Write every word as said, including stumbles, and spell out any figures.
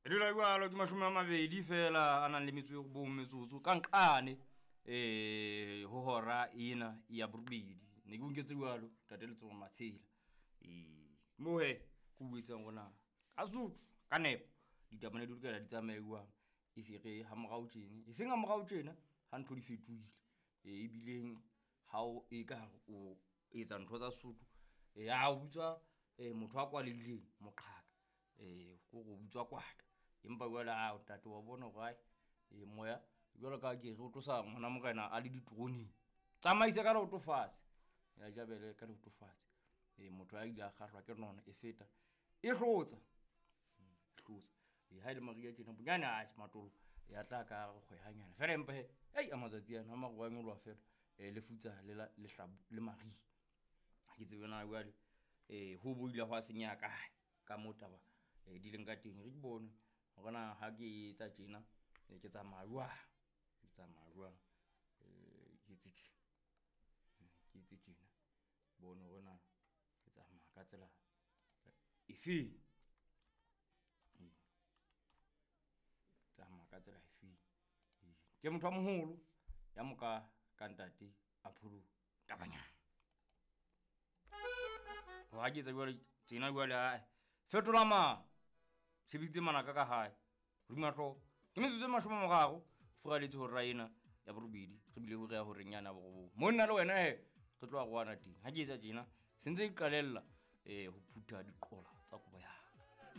E dula jwalo ke mashome a mabedi fela a nang le metso e robong metsotso ka nqane um ho hora ena ya borobedi. Ne ke o nketse jwalo ntate Letsomo Matshela. Ee, mo he ke o etsang hore ka Sesotho ka nepo ditaba ne di lokela di tsamaye jwang, e se re ha morao tjena, e seng ha morao tjena ha ntho di fetohile. E ebileng ha o e ka o etsa ntho tsa Sesotho, e a o bitswa motho a kwaleileng moqhaka. Ko re o bitswa kwata, empa jwale ao ntate wa bona hore ae moya jwalo ka ha ke re o tlosa ngwana morena a le diteroneng. Tsamaise ka leoto fatshe, ya jabele ka leoto fatshe. E motho a ile a kgahlwa ke nono e feta e hlotsa, e hlotsa. E ha e le mariha tjena bonyane atjhe matolo ya tla ka re kgwe hanyane fela, empa he ei a matsatsi ana a maru a nyoloha fela le futsa le la lehlabu le mariha. Ha ke tsebe na jwale ho bo ile hwa senyeha kae ka moo taba di leng ka teng. E re ke bone hore na ha ke etsa tjena ke tsamaya jwang, ke tsamaya jwang. Ke etse tjena, ke etse tjena, bone hore na ke tsamaya ka tsela efeng. Ee, tsamaya ka tsela efeng. Ee, ke motho a moholo ya moka ka ntate a Pholo Tabanyana. Ha ke etsa jwale tjena jwale ae fetola ma sebeditse manaka ka hae hodima hlooho. Ke metsotso e mashome a mararo furaletse hora ena ya borobedi, re bile ho re ya horeng yane ya borobong. Monna le wena he re tlo arohana teng. Ha ke etsa tjena se ntse ke qalella eh ho phutha diqola tsa kobo ya.